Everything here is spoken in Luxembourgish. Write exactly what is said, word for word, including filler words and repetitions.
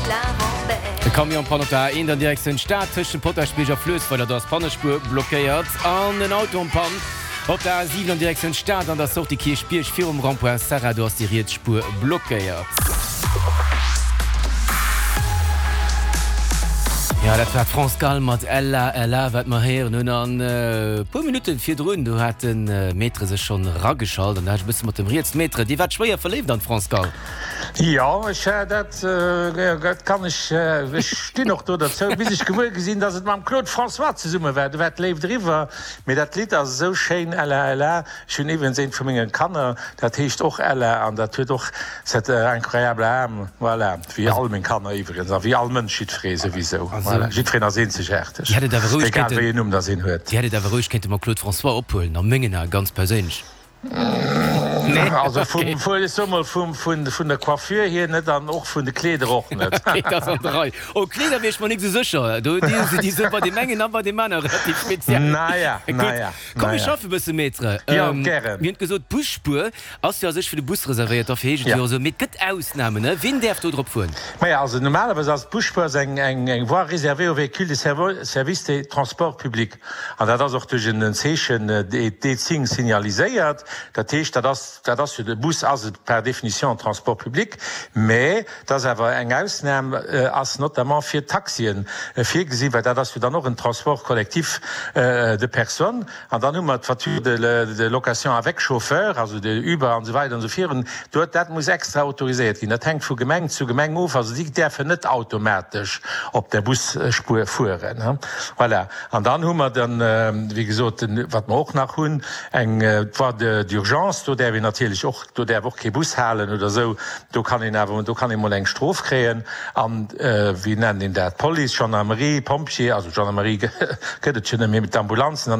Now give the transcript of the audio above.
De Camion en panne op der A eent an Direktioun Stad tëscht dem Potaschbierg a Fluessweiler, do ass d'Pannespuer blockéiert. An en Auto en panne op der A siwen an Direktioun Stad an der Sortie Kierchbierg virum Rond-point Serra, do ass déi riets Spuer blockéiert. Jo, dat war d'France Gall mat Ella, Ella, wat mer héieren hunn. An e puer Minutten virdrun, do hat de Maître sech schonn erageschalt an da hat ech e bësse mat dem riets. Maître, Dir waart schwéier verléift an d'France Gall. Jo, ech dat dat kann ech, ech stinn och do derzou, bis ech gewuer gi sinn, datt et mam Claude François zesumme war. Du war d'Léift eriwwer. Mee dat Lidd ass esou schéin, Ella, Ella. Ech hunn iwwregens eent vu menge Kanner, dat heescht och Ella an dat huet och cette incroyable âme, voilà, wéi all meng Kanner iwwregens a wéi all Mënsch, jiddweree souwisou, voilà, jiddwereen ass eenzegaarteg, egal wéi een Numm datt een huet. Dir hätt et awer roueg kéinte mam Claude François ophuelen, a mengen Ae ganz perséinlech. Nee? Also vum, ech soe mol, vum, vun, vun der Coiffure hier net an och vun de Kleeder och net. Okay, dat ass an der Rei. Oh, Kleeder wier ech mer nik esou sécher. Do, déi, déi si bei deem engen a bei deem anere relativ speziell. Naja, Gutt, naja, komm mir naja. schaffe bësse, Maître. Jo, gären. Mir hunn gesot, d'Busspuer ass jo a sech fir de Bus reservéiert, dofir heescht et Ja. jo esou. Mee et gëtt Ausnamen, ne? Wien däerf do drop fueren? Maja, also normalerweis ass d'Busspuer ass eng, eng, eng voie réservée aux véhicules de servo-, service de transport public. An dat ass och duerch en Zeechen, D-Zing, signaliséiert. Dat heescht, dat ass, dat ass jo, de Bus ass et par définition en transport public, mä et ass awer eng Ausnam ass notamment fir d'Taxien virgesinn, well dat ass jo dann och en transport collectif de personnes. An dann hu mer d'Voiture de location avec chauffeur, also de Uber an esou weider an esou virun. Do, dat muss extra autoriséiert ginn. Dat hänkt vu Gemeng zu Gemeng of. Also déi däerfen net automatesch op der Busspuer fueren. Voilà. An dann hu mer dann, wéi gesot, wat mer och nach hunn, eng Voie d'urgence. Do däerf een natierlech och, do däerf och kee Bus halen oder esou. Do kann een awer, do kann ee mol eng Strof kréien. An, wéi nennt een dat, Police, Gendarmerie, Pompjee, also Gendarmerie gëtt et jo net méi, mee d'Ambulanzen an